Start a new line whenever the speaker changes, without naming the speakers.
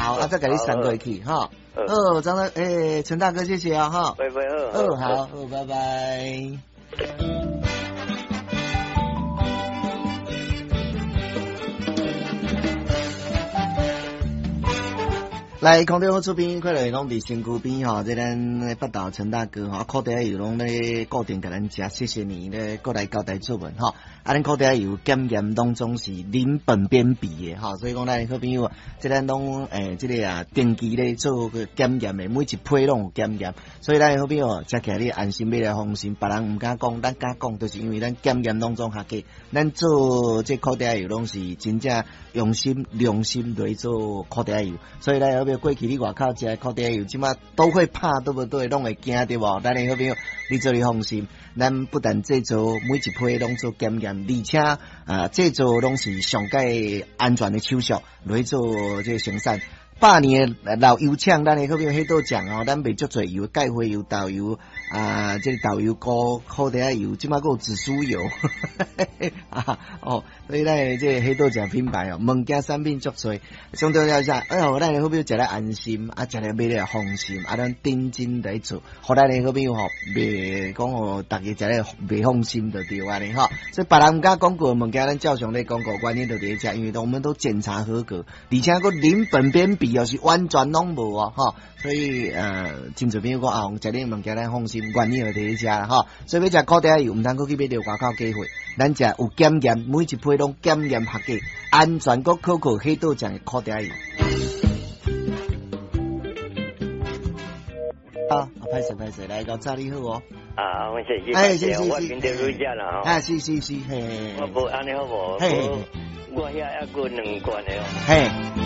好，啊，再共你送過去，吼。好，張大，欸，陳大哥，謝謝啊，哈。
拜拜，
好，好，好，拜拜。來，空中好邊，快樂攏佇身軀邊吼，這咱北投陳大哥吼，苦茶油攏咧固定共咱食，謝謝你咧，過來交代作文吼。啊，咱苦茶油檢驗當中是零苯鞭比的吼，所以講咱好朋友，這咱攏這个啊定期咧做個檢驗的，每一批攏有檢驗，所以咱好朋友食起來你安心買來放心，別人毋敢講，咱敢講，就是因為咱檢驗當中合格，咱做這苦茶油攏是真正用心良心來做苦茶油，所以咱好朋友過去你外口食的苦茶油，這馬都會怕，對不對？攏會驚對無？咱的好朋友，你做你放心，咱不但製造每一批攏做檢驗，而且啊製造攏是上蓋安全的手續來做這個生產。百年的老油廠，咱的好朋友彼倒醬哦，咱賣足濟油，芥花油、豆油啊，這個豆油膏、苦茶油，這馬閣有紫蘇油，啊哦，所以咱的這個彼倒醬品牌哦，物件產品足濟。上重要是哎喲，咱的好朋友食咧安心，啊，食咧買咧放心，啊，咱認真來做，予咱的好朋友吼，袂講予逐家食咧袂放心就對按呢吼。所以別人毋敢講過物件，咱照常咧講過，原因就佇咧遮，因為我們都檢查合格，而且閣零苯鞭比。就是完全攏無哦，吼，所以真濟朋友講啊，食恁物件咱放心，原因就佇咧遮啦，吼。所以欲食苦茶油，毋通閣去買著外口假貨，咱食有檢驗，每一批攏檢驗合格，安全閣可靠，彼倒醬的苦茶油。啊，歹勢歹勢，來到早你好哦。
啊，我是是，我聽著女仔啦，
吼。啊，是是是，嘿。
我無按呢好無？
嘿。
我遐猶閣兩罐的哦。
嘿。